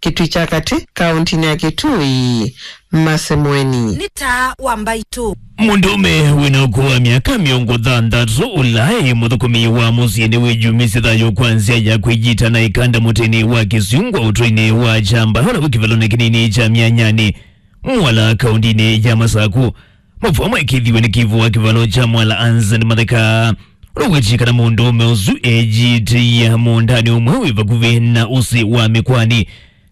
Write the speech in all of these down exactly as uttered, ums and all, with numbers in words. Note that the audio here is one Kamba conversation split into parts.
Kitui kya Katĩ, kaũntinĩ ya Kitui, Mercy Mweni. Nĩ Taa wa Mbaitũ. Mũndũũme wĩna ũkũũ wa myaka mĩongo thanthatũ, ũla e mũthũkũmi wa mũsyĩ, nĩwĩyumisye thayũ kwa nzĩa ya kwĩyita na ĩkanda mũtĩnĩ wa kĩsyungwa ũtũinĩ wa Kyamba, ũla wĩ kĩvalonĩ kĩnini kya Myanyanĩ, Mwala, kaũntinĩ ya Masakũ. Mavũa maĩkĩĩthiw'e nĩ kĩvũ wa kĩvalo kya Mwala, Anson Matheka, ũla ũwetie kana mũndũũme ũsu eyĩtĩie mũũndanĩ ũmwe wĩ vakuvĩ na ũsĩ wa mĩkwanĩ,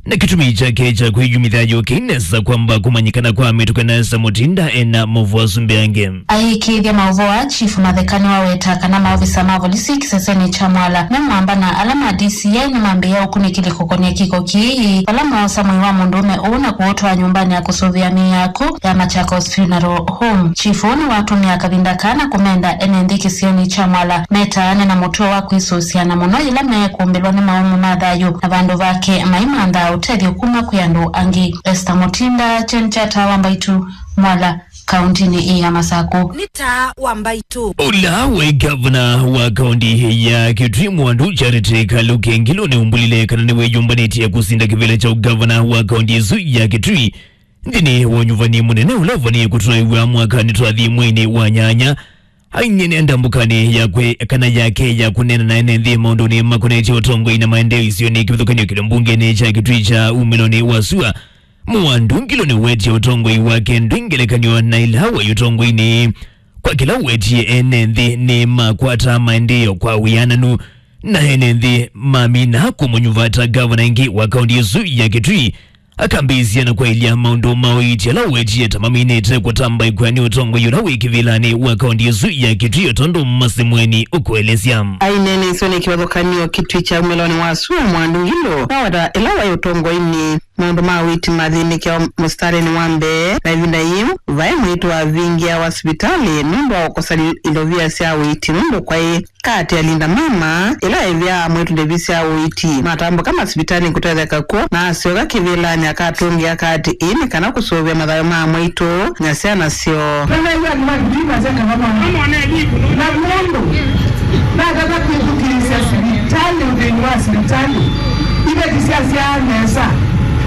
na kĩtumi kyake kya kwĩyumĩthya yũkĩi nesa kwamba kũmanyĩkana kwa mĩtũkĩ nesa mũtinda ena mavũa asu mbeange. Ayĩkĩĩthya maũvoo aa, Chief Matheka nĩwaweta kana maovisa ma volisi kĩsesenĩ kya Mwala me mwamba na ala ma D C I nĩmambĩĩa ũkunĩkĩli kũkonĩa kĩko kĩĩ, vala moosa mwĩĩ wa mũndũũme ũũ na kũũtwaa nyũmbanĩ ya kũsũvĩa mĩĩ yaku ya Machakos Funeral Home. Chief ũũ nĩwatũmĩa kavinda kaa na kũmenda ene nthĩ kĩsionĩ kya Mwala metaane na mũtuo wa kwĩsũsya, na mũno yĩla mekũmbĩlwa nĩ maũmũ ma thayũ, na vandũ vake maimanthaa ũtethyo kuma kwĩ andũ angĩ. Esther Mutinda, Kyeni kya Taa wa Mbaitũ, Mwala, kaũntinĩ ĩĩ ya Masakũ. Nĩ Taa wa Mbaitũ. Ũla waĩ ngavana wa kaũnti ya Kitui, Mwandu Charity Kaluki Ngilu, nĩumbũlile kana nĩwĩyũmbanĩtye kũsinda kĩvĩla kya ũngavana wa kaũnti ĩsu ya Kitui nthĩnĩ wa ũnyuvani mũnene ũla ũvanie kũtwaĩw'a mwakanĩ twathi mweinĩ wa nyanya. Ainie nĩ ndambũkanĩ yakwe kana yake ya kũneena na ene nthĩ maũndũnĩ makonetye ũtongoi na maendeeo isionĩ kĩvathũkany'o kĩlĩ mbungenĩ kya Kitui kya umĩlonĩ wa sua. Mwandu Ngilu nĩwetie ũtongoi wake ndwĩ ngelekany'o na ĩla waĩ ũtongoinĩ. Kwa kĩla ũwetie, ene nthĩ nĩmakwata maendeeo kwa wĩananu, na ene nthĩ mamina kũmũnyuva ta ngavana ĩngĩ wa kaũnti ĩsu ya Kitui. Akambĩĩsya na kwaĩlya maũndũ ma ũiiti ala ũwetie ta maminĩte kũtamba ĩkw'a nĩ ũtongoi ũla wĩ kĩvĩlanĩ wa kaũnti ĩsu ya Kitui, o tondũ Mercy Mweni ũkũelesya. Aineena isionĩ kĩvathũkany'o Kitui kya umĩlonĩ wa sua, Mwandu Ngilu naweta ĩla waĩ ũtongoinĩ, maũndũ ma ũiiti mathĩnĩkĩawa mũsitalĩnĩ wa mbee, na ĩvinda yĩu vaĩ mwĩĩtu wavingĩawa sivitalĩ nũndũ wa kũkosa li-, ilovia sya ũiiti nũndũ kwaĩ kaati ya Linda Mama, ĩla ĩvĩaa mwĩĩtu ndevi sya ũiiti. Matambũka masivitalĩ kũtetheka kw'o, na asyoka kĩvĩlanĩ akatũngĩa kaati ĩĩ nĩ kana kũsũvĩa mathayũ ma mwĩĩtu na syana syoo. Nĩnaĩw'a andũ ma Kitui masya kavamona. Na mũndũ natata kwĩthukĩĩsya sivitalĩ, ũthĩni wa sivitalĩ, iveti syasyaa nesa.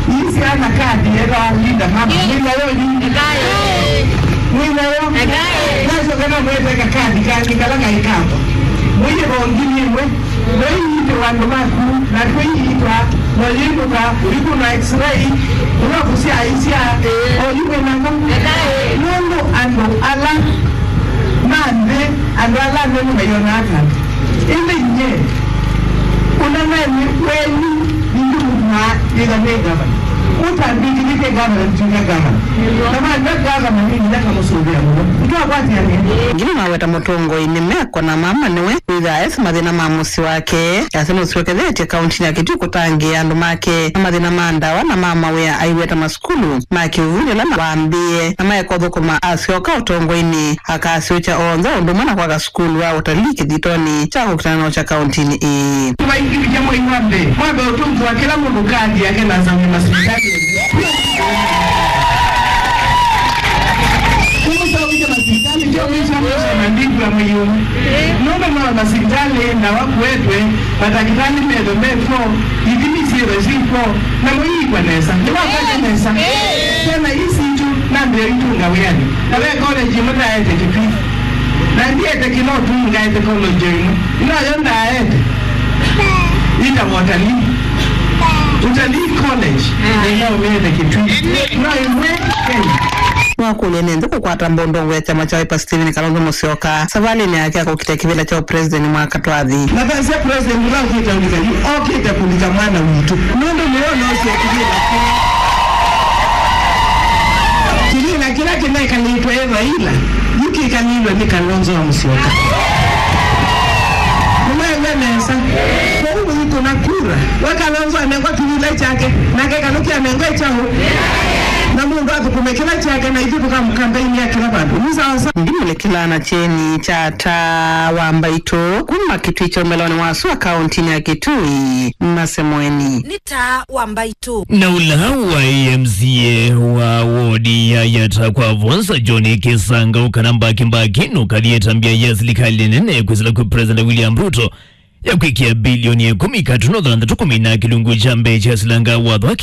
Ii syana kathi yethaa Linda Mama. Mwĩ nayo yu? Mwĩ nayo? Nasyoka namweteka kathi kangĩ kala kaĩ kakwa. Mũiye vongi nĩ ĩmwe. Noiitĩwa andũ maku, na twĩiitwa, noyĩndũka, ũikũna x-ray, ũla kũsyaisya, oyu mwĩ nako. Nũndũ andũ ala ma nthĩ, andũ ala anene maionaa ta andũ. Ĩndĩ nyie, ũnenani wenyu, nĩndĩmũthuaa nĩtha nĩ ngavana. Ũtambĩkĩthĩtye ngavana, ndituĩka ngavana. Na mandw'a ngavana, nĩ nginya ngamũsũvĩa mũno. Nĩtwakwatĩanĩa. Ngilu naweta mũtongoi nĩ meko na mama nĩwe wĩthaa esi mathĩna ma mũsyĩ wake. Yasya nũsyokethetye kaũntinĩ ya Kitui kũtangĩĩa andũ make na mathĩna ma ndawa na ma mawĩa aiweta masukulu ma kĩũvuli ala wambĩĩe na maeka ũthũkũma asyoka ũtongoinĩ. Akasyũkya onthe ũndũ ũmwe na kwaka sukulu wa ũtalii kĩthitonĩ kya kũkitana na ũkya kaũntinĩ ĩĩ. Tũvaingĩvĩtya mwei wa mbee, mwambe ũtũngĩwa kĩla mũndũ kathi yake na asaũnĩ masivitalĩ. Kũmũsaũkĩtya masivitalĩ, tyo mĩsya mĩsya na ndivua mwei ũmwe. Nũndũ no masivitalĩ, ndawa kũetwe, matakĩtalĩ methwe mekw'o, ithimi syĩthwe syĩkw'o, na mũiikwa nesa. Nĩwakwata nesa. Syana ii sitũ, nambĩa itũnga wĩanĩ. Na ve college ĩmwe ndaete Kitui. Na ndiete kĩla ũtumi ngaete college ĩmwe. Ĩno yo ndaete. Ĩtawa Utalii. Utalii College. Nĩnaũmĩete Kitui. No ĩmwe Kenya. Nĩwakũlya nĩ nthĩ kũkwata mbondongo ya kyama kya Wiper Stephen Kalonzo Musyoka savalĩnĩ yake ya kũkitĩa kĩvĩla kya ũpresident mwaka twathi. Na vasya president ũla ũkĩte ũlika yu, okĩte kũlika mwana witũ. Nũndũ nĩwe ũnosie kĩvĩla kĩu. Kĩvĩla kĩla kĩnekalĩtwe ĩ Raila, yu kĩkalĩlwe nĩ Kalonzo wa Musyoka. Nĩmwaĩw'a nesa? Kwoou mũikũna kura, we Kalonzo anengwa kĩvĩla kyake, nake Kaluki anengwe kyaũ? Na mũndũ athũkũme kĩla kyake, na ithyĩ tũkamũkampeinia kĩla vandũ. Nĩ sawa sawa. Ndimũlĩkĩlaa na kyeni kya Taa wa Mbaitũ kuma Kitui kya ũmĩlonĩ wa sua kaũntinĩ ya Kitui, Mercy Mweni. Nĩ Taa wa Mbaitũ. Na ũla waĩ M C A wa wodi ya Yatta kwa Vonza, John Kisanga, ũkana mbaki mbaki nũkathi ĩtambya ya silikalĩ nene kwĩsĩla kwĩ President William Ruto ya kwĩkĩa bilioni ĩkũmi katuno thanthatũ kũmina kĩlungu kya mbee kya silanga watho wa